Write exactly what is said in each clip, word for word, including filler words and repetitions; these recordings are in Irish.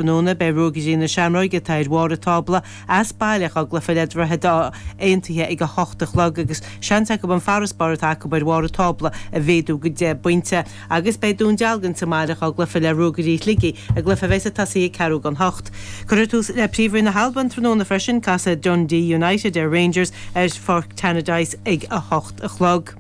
Tráthnóna, beidh Ruagairí na Seamróige, atá ar bharr an tábla, as baile dá gcluiche le Droichead Átha Aontaithe ag a hocht a chlog agus seans acu an farasbarr atá acu ar bharr an tábla a mhéadú go deich bpointe. Agus beidh Dún Dealgan sa mbaile dá gcluiche le Ruagairí Shligigh, i gcluiche a bheas ag tosaí ag ceathrú don hocht. Cuirfear tús le Príomhroinn na hAlban tráthnóna freisin, casfaidh Dundee United ar Rangers ar Pháirc Tannadice ag a hocht a chlog.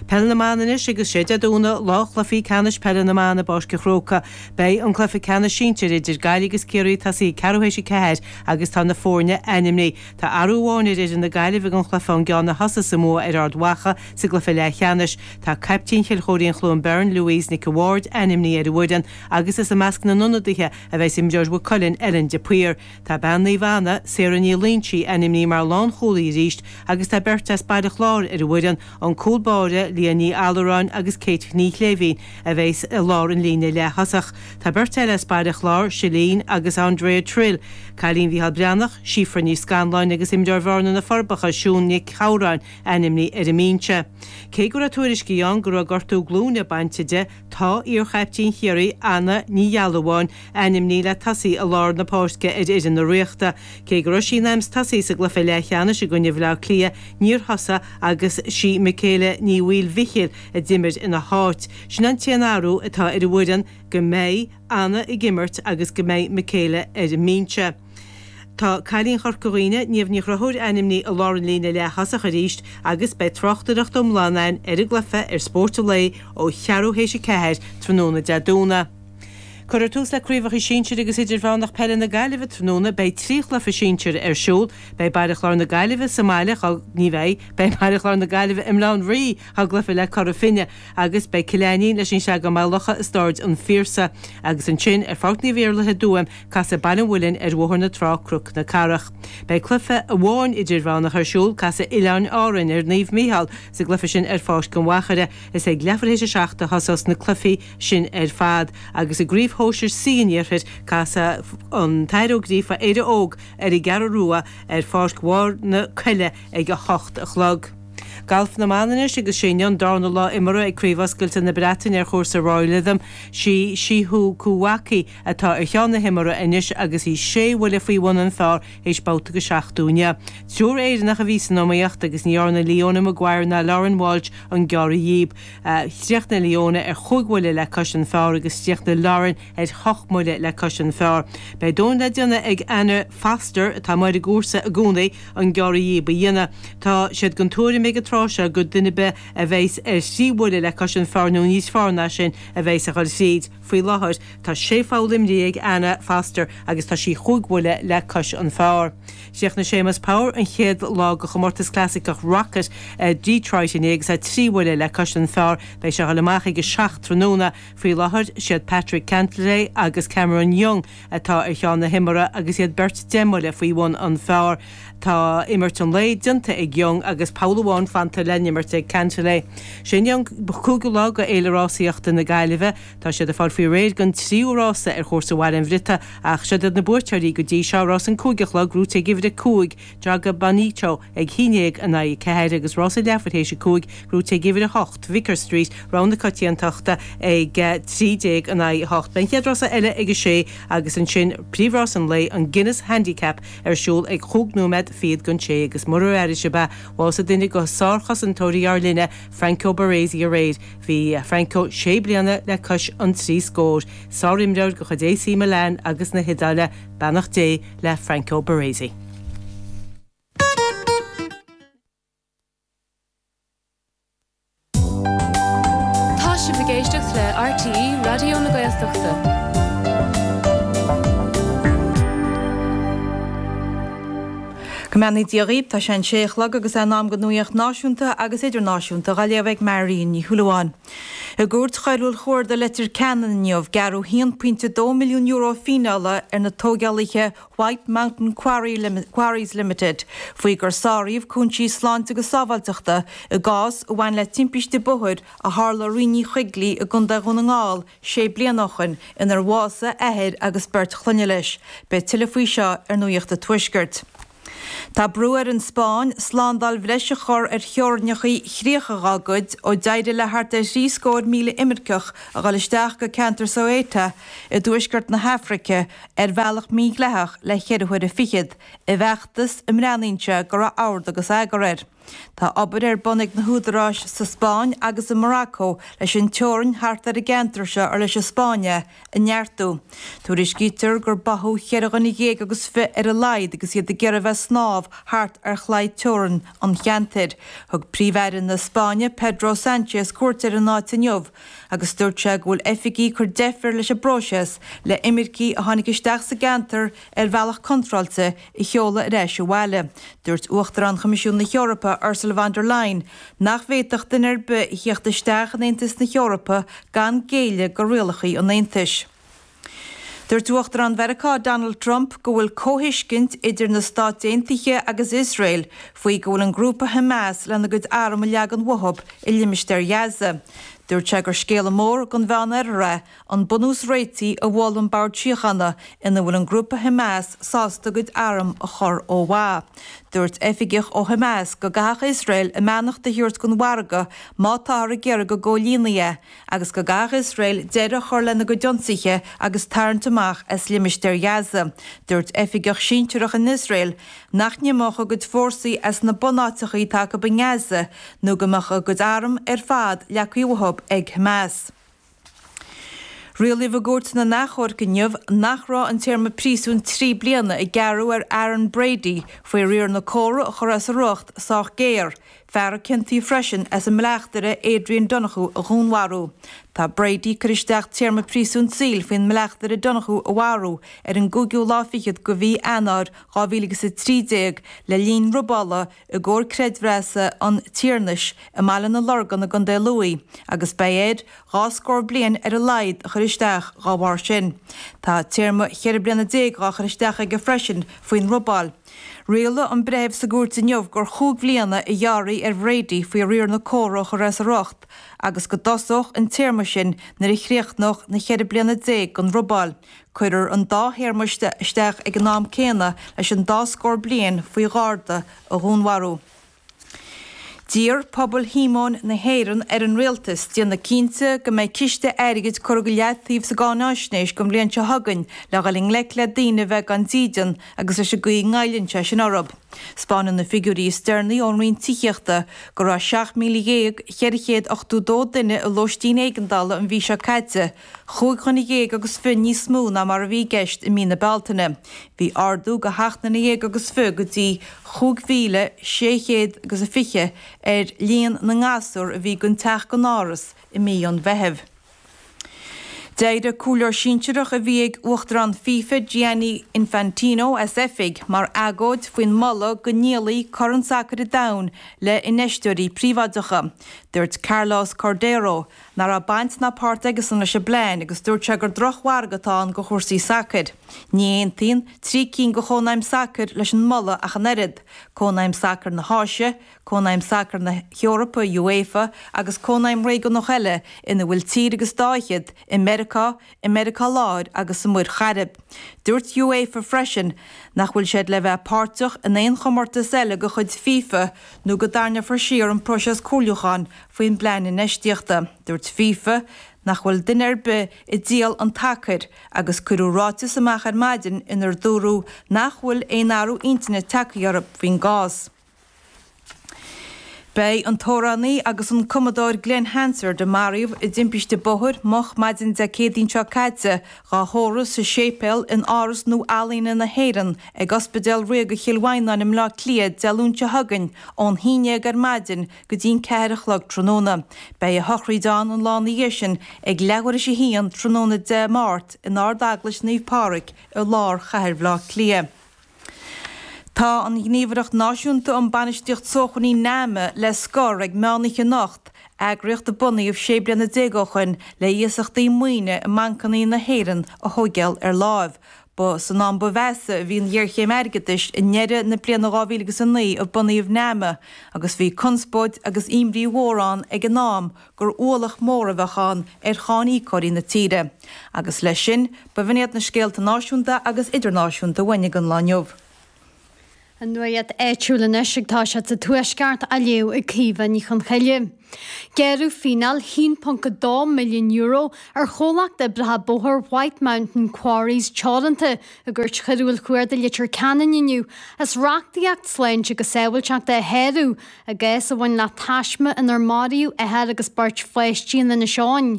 Peil na mBan anois agus sé Dé Domhnaigh lá chluichí ceannais peile na mban i bPáirc an Chrócaigh. Beidh an cluiche ceannais sinsir idir Gaillimh agus Ciarraí ag tosaí ag ceathrú théis a ceathair agus tá na foirne ainmnithe. Tá athrú amháin ar fhoireann na Gaillimhe don chluiche ón gceann a thosaigh sa mbua ar Ard Mhacha sa gcluiche leathcheannais. Tá caiptín Chill Chóirín Chluain Bheirn, Louise Nic a' Bhaird, ainmnithe ar an bhfoireann agus is i measc na n-ionadaithe a bheas imreoir Mhaigh Cuilinn, Ellen de Paor. Tá bean Naomh Anna, Sarah Ní Loingsigh, ainmnithe mar lánchúlaí arís agus tá beirt as Baile Chláir ar an bhfoireann, an cúl báire, Leah Ní Allaráin agus Kate Ní Shléibhín, a bheas i lár an líne leath-thosach. Tá beirt eile as Baile Chláir, Silene agus Andrea Trill, cailín Mhícheál Breathnach, Síofra Ní Scanláin agus imreoir Bhearna na Forbacha, Siún Nic Shamhráin, ainmnithe ar an mbinse. Cé go raibh tuairiscí ann go raibh gortú glúine bainte di, tá iar-chaiptín Chiarraí, Anna Ní Ghealbháin, ainmnithe le tosaí i lár na páirce ar fhoireann na Ríochta. Cé go raibh sí in ainm 's tosaí sa gcluiche leathcheannais i gcoinne Bhaile Átha Cliath, níor thosaigh agus sí Michaela Ní Mhaoilmhichíl a d'imir ina háit. Sin an t-aon athrú atá ar an bhfoireann, go mbeidh Anna ag imirt agus go mbeidh Michaela ar an mbinse. Tá cailín Chorca Dhuibhne, Niamh Ní Chonchúir ainmnithe i lár an líne leath-thosach arís agus beidh tráchtaireacht iomlán againn ar an gcluiche ar Spórt an Lae ó cheathrú théis a ceathair tráthnóna Dé Domhnaigh. Cuirfear tús le Craobhacha Sinsir agus Idirmheánach Peile na Gaillimhe tráthnóna. Beidh trí chluiche sinsir ar siúl. Beidh Baile Chláir na Gaillimhe sa mbaile, ní bheidh, beidh Baile Chláir na Gaillimhe i mBaile Átha an Rí dá gcluiche le Cora Finne agus beidh Cill Ainnín leis an Sreagán Maigh Locha i Staid an Phiarsaigh. Agus ansin ar Pháirc Naomh Iarlaith i dTuaim, casfaidh Baile an Mhuilinn ar Bhóthar na Trá Cnoc na Cathrach. Beidh cluiche amháin idirmheánach ar siúl, casfaidh Oileáin Árainn ar Naomh Mícheál sa gcluiche sin ar Pháirc an Mhachaire. Is ag leathuair théis a seacht a thosós na cluichí sin ar fad agus i gCraobh Shóisir C an Iarthair, casfaidh an tAthair Ó Gríofa, Éire Óg ar an gCeathrú Rua ar Pháirc Bharr na Coille ag a hocht a chlog. Galf na mban anois agus sé inniu an darna lá imeartha ag Craobh Oscailte na Breataine ar chúrsa Royal Lytham. Sí Shiho Kuwaki atá ar cheann na himeartha anois agus í sé bhuille faoi bhun an phar théis babhta go seachtú inniu. Triúr Éireannach a bhí san iomaíocht agus ní dhearna Leona Maguire ná Lauren Walsh an gearradh dhíob. Chríochnaigh Leona ar chúig bhuille le cois an phar agus chríochnaigh Lauren ar hocht mbuille le cois an phar. Beidh domhan le déanamh ag Anna Foster, atá amuigh ar an gcúrsa i gcónaí, an gearradh dhíob a dhéanamh. Tá siad den tuairim ag an tráth seo gur duine ar bith a bheas ar thrí bhuille le cois an phar nó níos fearr ná sin a bheas ag dul thríd. Faoi láthair tá sé pholl imrithe ag Anna Foster agus tá sí chúig bhuille le cois an phar. Chríochnaigh Séamus Power an chéad lá de chomórtas clasaiceach Rocket i Detroit inné agus é trí bhuille le cois an phar. Beidh sé ag dul amach ag a seacht tráthnóna. Faoi láthair, siad Patrick Cantlay agus Cameron Young atá ar cheann na himeartha agus iad beirt deich mbuille faoi bhun an phar. Tá imirt an lae déanta ag Young agus poll amháin fanta le n-imirt ag Cantlay. Sé inniu an cúigiú lá de Fhéile Rásaíochta na Gaillimhe. Tá siad ag fáil faoi réir don tríú rása ar chúrsa Bhaile an Bhriotaigh ach siod iad na buaiteoirí go dtí seo, rás an cúig a chlog, gnóthaithe ag uimhir a cúig, Joga Bonito, ag haon déag in aghaidh a ceathair agus rás a leathuair théis a cúig, gnóthaithe ag uimhir a hocht, Vicar Street, rogha na coitiantachta, ag trí déag in aghaidh a hocht. Beidh an chéad rása eile ag a sé agus ansin príomhrás an lae, an Guinness Handicap, ar siúl ag chúig nóiméad fichead don sé agus murar airigh sibh é, bhásaigh duine de sárchosantóirí ár linne, Franco Baresi aréir. Bhí Franco sé bliana le cois an trí scór. Sárimreoir de chuid AC Milan agus na hIodáile, beannacht Dé le Franco Baresi. Tá sibh ag éisteacht le RTÉ Raidió na Gaeltachta. Go mbeannaí Dia dhaoibh, tá sé an sé a chlog agus é in am don nuaíocht náisiúnta agus idirnáisiúnta dhá léamh ag Marion Ní Shúilleabháin. I gCúirt Choiriúil Chuarda Leitir Ceanainn inniu, gearradh haon pointe dó milliún euro fíneála ar na tógálaithe White Mountain Quarries Limited faoi gur sáraíodh cúinsí sláinte agus sábháilteachta i gcás a bhain le timpiste bóthair a tharla i Rinn Uí Choigligh i gContae Dhún na nGall sé bliana ó shin inar bhásaigh athair agus beirt chlainne leis. Beidh tuilleadh faoi seo ar Nuacht an Tuaiscirt. Tá brú ar an Spáinn slándáil bhreise a chur ar theorainneacha chríocha dá gcuid ó d'éirigh le thart ar thrí scór míle imirceach a dhul isteach go ceantar Ceuta i dtuaisceart na hAfraice ar bhealach mídhleathach le ceithre huaire fichead, i bhfeachtas a mbreathnaíonn sé go raibh ord agus eagar air. Tá obair ar bun ag na húdaráis sa Spáinn agus i Morocco leis an teorainn thart ar an gceantar seo ar leis an Spáinn é a neartú. Tuairiscítear gur báthadh cheithre dhuine dhéag agus fiche ar a laghad agus iad ag iarraidh bheith ag snámh thart ar chlaí teorann an cheantair. Thug Príomh-Aire na Spáinne Pedro Sánchez cuairt ar an áit inniu agus dúirt sé go bhfuil oifigigh ag cur deifir leis an bpróiseas le imircigh a tháinig isteach sa gceantar ar bhealach contráilte a sheoladh ar ais abhaile. Dúirt Uachtarán Choimisiún na hEorpa Ursula von der Leyen nach bhféadfadh duine ar bith a theacht isteach in Aontas na hEorpa gan géilleadh do rialacha an Aontais. Dúirt Uachtarán Mheiriceá Donald Trump go bhfuil comhthuiscint idir na Stáit Aontaithe agus Iosrael faoi go bhfuil an grúpa Hamas lena gcuid arm a leagan uathu i limistéar Ghaza. Dúirt sé gur scéala mór don Mheánoirthear é an bunús réitigh a mhol an Bord Síochána ina bhfuil an grúpa Hamas sásta a gcuid arm a chur ó mhaith. Dúirt oifigeach ó Hamas go gcaithfeadh Iosrael a mbeannacht a thabhairt don mhargadh má táthar ag iarraidh go gcomhlíonfaí é, agus go gcaithfeadh Iosrael deireadh a chur lena gcuid ionsaithe agus tarraingt amach as limistéar Ghaza. Dúirt oifigeach sinsearach in Iosrael nach n-imeodh a gcuid fórsaí as na bunáiteacha atá acu i nGaza nó go mbeadh a gcuid arm ar fad leagtha uathu ag Hamas. Rialaíodh i gCúirt na nAchomharc inniu nach raibh an téarma príosúin trí bliana a gearradh ar Aaron Brady faoi riar na córa a chur as a riocht sách géar, fear a ciontaíodh freisin as an mbleachtaire Adrian Donohoe a dhúnmharú. Tá Brady curtha isteach téarma príosúin saoil faoin mbleachtaire Donohoe a mharú ar an gcúigiú lá fichead de mhí Eanáir dhá mhíle agus a trí déag le linn robála i gcomhar creidmheasa an Tiarnais i mBaile na Lorgan i gContae Lú agus beidh air dhá scór bliain ar a laghad a chur isteach dá bharr sin. Tá téarma cheithre bliana déag dhá chur isteach aige freisin faoin robáil. Rialaigh an breitheamh sa gcúirt inniu gur chúig bhliana a ghearrfaí ar Bhrady faoi riar na córa a chur as a riocht agus go dtosódh an téarma sin nuair a chríochnódh na ceithre bliana déag den robáil. Cuirfear an dá théarma isteach ag an am céanna leis an dá scór bliain faoi gharda a dhúnmharú. D'iarr pobal Shíomóin na hÉireann ar an rialtas déanamh cinnte go mbeidh ciste airgid curtha go leataobh sa gcáináisnéis don bhliain seo chugainn le dhul i ngleic le daoine a bheith gan dídean agus leis an gcaoi a ngoilleann sé sin orthu. 'Spáineann na figiúirí is deireanaí ón Roinn Tithíochta go raibh seacht míle dhéag cheithre chéad ochtó dó duine i lóistín éigeandála an mhí seo caite, chúig dhuine dhéag agus fiche níos mó ná mar a bhí i gceist i mí na Bealtaine. Bhí ardú de sheacht nduine dhéag agus fiche go dtí chúig mhíle sé chéad agus a fiche ar líon na ngasúr a bhí gan teach gan áras i mí an Mheithimh. D'éirigh comhairleoir sinsearach a bhí ag Uachtarán FIFA Gianni Infantino as oifig mar agóid faoin moladh go ndíolfaí Corn Sacair an Domhain le infheisteoirí príobháideacha. Dúirt Carlos Cordeiro nach raibh baint ná páirt aigesan leis an bplean agus dúirt sé gur drochmhargadh atá ann do chúrsaí sacair. Ní aontaíonn trí cinn de chónaidhm sacair leis an moladh ach an oiread, Cónaidhm Sacair na hÁise, Cónaidhm Sacair na hEorpa, UEFA, agus cónaidhm réigiúnach eile ina bhfuil tír agus dá fhichead i Meiriceá, i Meiriceá Láir agus sa Mhuir Chairib. Dúirt UEFA freisin nach bhfuil siad le bheith páirteach in aon chomórtas eile de chuid FIFA nó go dtarraingeofar siar an próiseas comhairliúcháin faoin bplean infheistíochta. Dúirt FIFA nach bhfuil duine ar bith ag díol an tsacair agus cuireadh ráiteas amach ar maidin inar dúradh nach bhfuil aon athrú intinne tagtha orthu faoin gcás. Beidh an t-amhránaí agus an cumadóir Glen Hansard, a maraíodh i dtimpiste bóthair moch maidin Dé Céadaoin seo caite, dhá thórramh sa séipéal in Áras Nua-Ealaíne na hÉireann ag Ospidéal Ríoga Chill Mhaighneáin i mBleá Cliath Dé Luain seo chugainn ón haon déag ar maidin go dtí'n ceathair a chlog tráthnóna. Beidh a shochraíd ann an lá ina dhiaidh sin ag leathuair théis a haon tráthnóna Dé Máirt in Ard-Eaglais Naomh Pádraig i lár chathair Bhaile Átha Cliath. Tá an Ghníomhaireacht Náisiúnta um Bainistíocht Sócmhainní NAMA le scor ag meánoíche anocht, eagraíocht a bunaíodh sé bliana déag ó shoin le iasachtaí maoine i mbancanna na hÉireann a thóigeáil ar láimh. Ba san am ba mheasa a bhí an ghéarchéim airgeadais i ndeireadh na bliana dhá mhíle agus a naoi a bunaíodh NAMA agus bhí conspóid agus imní mhór ann ag an am gur ualach mór a bheadh ann ar cháiníocóirí na tíre. Agus leis sin, b'in iad na scéalta náisiúnta agus idirnáisiúnta uainn ag an lá inniu. An nuacht áitiúil anois ag toiseacht sa Tuaisceart á léamh ag Caoimhe Ní Chonchoille. Gearradh fíneáil haon ponc a dó milliún euro ar chomhlacht oibreacha bóthair White Mountain Quarries Teoranta i gCúirt Choiriúil Chuarda Leitir Ceanainn inniu as reachtaíocht sláinte agus sábháilteachta a shárú i gcás a bhain le taisme inar maraíodh othar agus beirt pháistí in Inis Eoghain.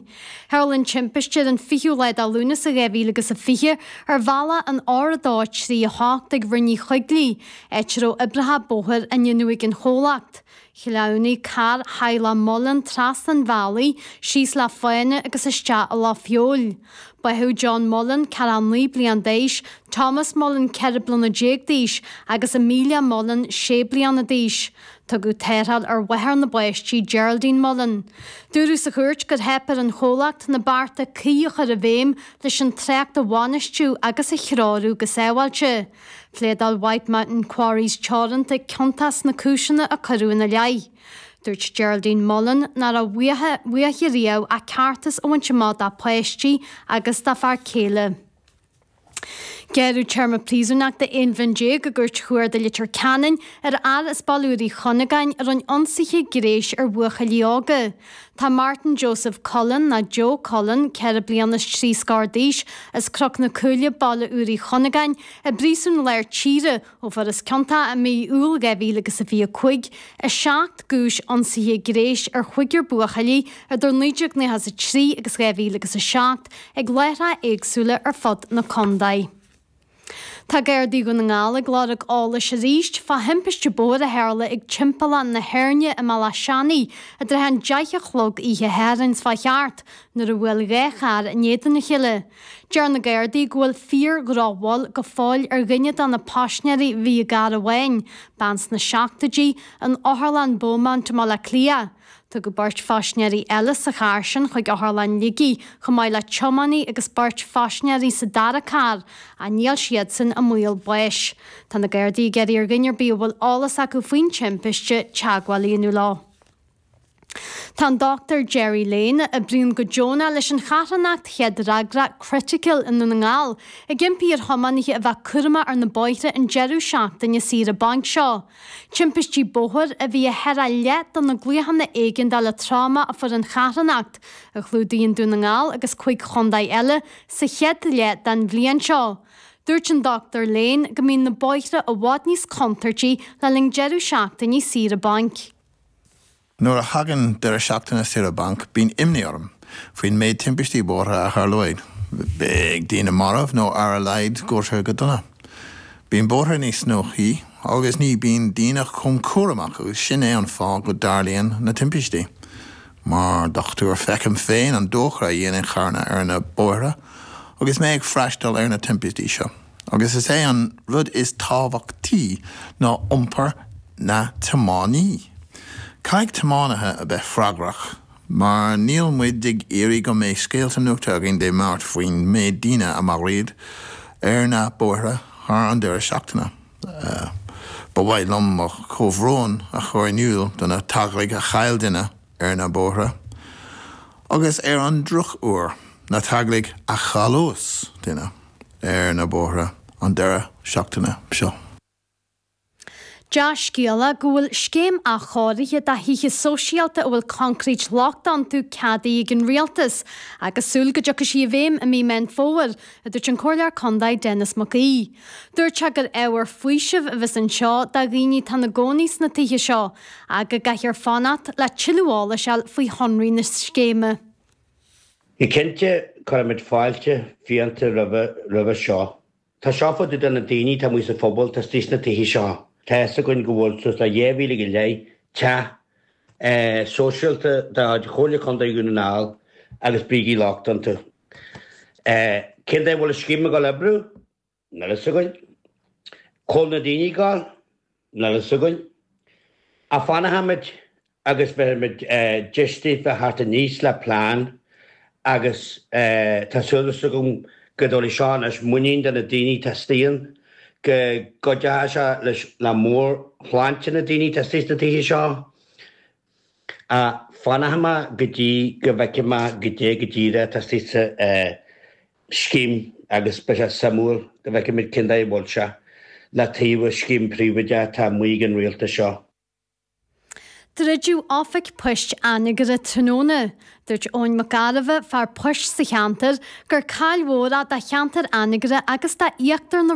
Tharla an timpiste ar an fichiú lá de Lúnasa dhá mhíle agus a fiche ar bhealach an R a dó trí a hocht ag Rinn Uí Choigligh, áit a raibh oibreacha bóthair á ndéanamh ag an chomhlacht. Shleamhnaigh carr theaghlach Mullen trasna an bhealaigh, síos le fána agus isteach i Loch Feabhail. Báthadh John Mullen, ceathracha naoi bliain d'aois, Thomas Mullen, ceithre bliana déag d'aois, agus Amelia Mullen, sé bliana d'aois. Tugadh tarrtháil ar mháthair na bpáistí, Geraldine Mullen. Dúradh sa chúirt gur theip ar an chomhlacht na bearta cuí a chur i bhfeidhm leis an trácht a bhainistiú agus a threorú go sábháilte. Phléadáil White Mountain Quarries Teoranta ciontach sna cúiseanna a cuireadh ina leith. Dúirt Geraldine Mullen nach raibh uaithi riamh ach ceartas a bhaint amach dá páistí agus dá fear céile. Gearradh téarma príosúnachta aon bhliain déag i gCúirt Chuarda Leitir Ceanainn ar fhear as Baile Úr Uí Chunagáin a rinne ionsaithe gnéis ar bhuachaillí óga. Tá Martin Joseph Cullen, nó Joe Cullen, ceithre bliana is trí scór d'aois, as Cnoc na Cúile, Baile Úr Uí Chunagáin, i bPríosún Lár Tíre ó fuarthas ciontach i mí Iúil dhá mhíle agus a fiche a cúig i seacht gcúis ionsaithe gnéis ar chúigear buachaillí idir naoi déag nócha a trí agus dhá mhíle agus a seacht ag láithreacha éagsúla ar fud na contae. Tá Gardaí Dhún na nGall ag lorg eolais arís fá thimpiste bóthair a tharla ag Timpeallán na hÉirne i mBealach Seanaidh i dtrátha an deich a chlog oíche Shathairn seo thart nuair a bhuail dhá charr in éadan a chéile. Deir na Gardaí go bhfuil fíor-dhrochbhail go fóill ar dhuine de na paisinéirí a bhí i gcarr amháin, bean sna seachtóidí, in Otharlann Beaumont i mBaile Átha Cliath. Tugadh beirt phaisinéirí eile sa charr sin chuig Otharlann Shligigh, chomh maith le tiománaí agus beirt phaisinéirí sa dara carr, ach níl siadsan i mbaol báis. Tá na Gardaí ag iarraidh ar dhuine ar bith a bhfuil eolas acu faoin timpiste teagmháil a dhéanamh leo. Tá an Dochtúir Gerry Lane, a oibríonn go deonach leis an charthanacht chéad-fhreagra Critical i nDún na nGall, ag impí ar thiománaithe a bheith cúramach ar na bóithre an deireadh seachtaine saoire bainc seo. Timpistí bóthair a bhí i cheithre leath de na glaochanna éigeandála troma a fuair an charthanacht, a chlúdaíonn Dún na nGall agus cúig chontae eile, sa chéad leath den bhliain seo. Dúirt an Dochtúir Lane go mbíonn na bóithre i bhfad níos contúirtí le linn deireadh seachtaine saoire bainc. Nuair a thagann deireadh seachtaine saoire bainc, bíonn imní orm faoin méid timpistí bóithre a tharlóidh. Beidh daoine marbh nó ar a laghad gortaithe go dona. Bíonn bóithre níos gnóthaí agus ní bíonn daoine chomh cúramach agus sin é an fáth go dtarlaíonn na timpistí. Mar dhochtúir feicim féin an dochar a dhéanann carranna ar na bóithre agus mé ag freastal ar na timpistí seo. Agus is é an rud is tábhachtaí ná iompar na tiománaí. Caithfidh tiománaithe a bheith freagrach, mar níl muid ag iarraidh go mbeidh scéalta nuachta againn Dé Máirt faoin méid daoine a maraíodh ar na bóithre thar an deireadh seachtaine. Ba mhaith liom mo chomhbhrón a chur in iúl do na teaghlaigh a chaill duine ar na bóithre, agus ar an drochuair, na teaghlaigh a chailleas duine ar na bóithre an deireadh seachtaine seo. Dea-scéala go bhfuil scéim athchóirithe do thithe sóisialta a bhfuil coincréit lochtach iontu ceadaithe ag an Rialtas agus súil go dtiocfaidh sí i bhfeidhm i mí Meán Fómhair, a dúirt an Comhairleoir Contae Denis Mac Aoidh. Dúirt sé gur ábhar faoisimh a bheas anseo do dhaoine atá ina gcónaí sna tithe seo ach go gcaithfear fanacht le tuilleadh eolais a fháil faoi shonraí na scéime. Go cinnte, cuirimid fáilte fiánta roimhe seo. Tá seo fá dtaobh de na daoine atá amuigh sa phobal atá istigh sna tithe seo. Tá fhios againn go bhfuil suas le dhá mhíle go leith teach sóisialta de chuid Chomhairle Contae Dhún na nGall agus brící lochtacha iontu. Cén dóigh a bhfuil an scéim ag dul oibriú? Níl fhios againn. Cá bhfuil na daoine ag dul? Níl fhios againn. Ach fanfaimid agus beimid deis daoibh a theacht aníos le plean agus tá súil agam go dtabharfaidh seo anois muinín do na daoine atá istigh ann, go gcuideoidh sé leis le meabhairshláinte na daoine atá istigh sna tithe seo. Ach fanfaidh mé go dtí go bhfeicfidh mé goidé go díreach atá istigh sa scéim agus beidh sé suimiúil go bhfeicfimid cén dóigh a bhfuil sé. le taobh scéim príobháideach atá amuigh ag an rialtas seo. Druideadh Oifig Poist Anagaire tráthnóna. Dúirt Eoin Mac Gairbheith, fear poist sa cheantar, gur caill mhór é do cheantar Anagaire agus d'Íochtar na